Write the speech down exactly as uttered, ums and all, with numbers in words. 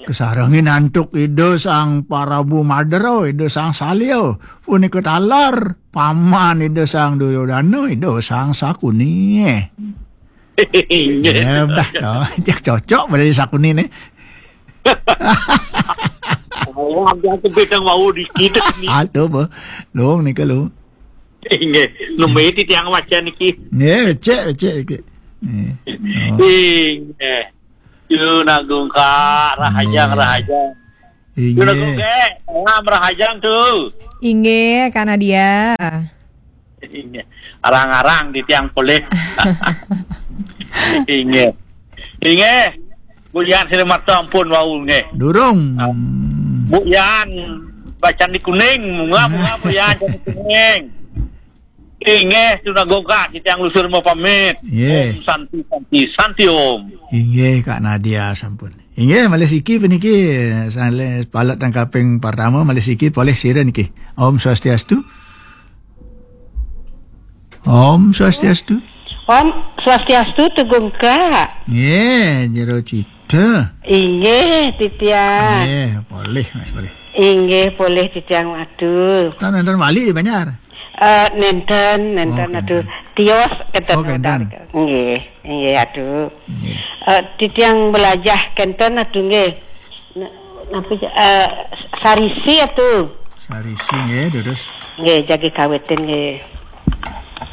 Kasarengin antuk Ida Sang Parabu Madara, Ida Sang Salya, punika taler paman Ida Sang Duryodana, Ida Sang Sakuni. Inggih. Ya, bah, no. Jak cocok pada Sakuni ni. Oh, ada kebedang wau dikit ni. Aduh, bah. Lung ni kalau. Inggih, nembe titiang maca niki. Nggih, becik, becik, becik. Nggih. Oh. Inggih. Yu Nagung Kak, rahajang, inggih, rahajang. Yu Nagung Kak, salam rahajang tu. Inggih, Kak Nadia. Inggih. Arang-arang titiang polih. Inggih. Inggih. Bu Yan sira matur ampun wau nggih. Durung. Ah. Bu Yan bacaan di kuning, bunga, bunga Bu Yan bacaan di kuning. Inggih, Tuna Gongkak, titiang lusur mau pamit. Nggih. Om Santi, Santi, Santi Om. Inggih, Kak Nadia sampun. Inggih, malih siki puniki, salih palet tang kaping pertama, malih siki polih sira niki. Om Swastiastu. Om Swastiastu. Om Swastiastu, Tugungka. Nggih, Jero Cita. Inggih, titiang. Nggih, polih, Mas, polih. Inggih, polih titiang, aduh. Tan nonton Bali di Banjar. Eh, nenten, nenten, oh, aduh. Nenten. Tios kenten. Oh, kenten. Nggih, nggih, aduh. Nggih. Eh, titiang belajah kenten, aduh, nggih. Na-, napa ja-, eh, sarisi, aduh. Sarisi, nggih, terus. Nggih, jagi kawitin, nggih.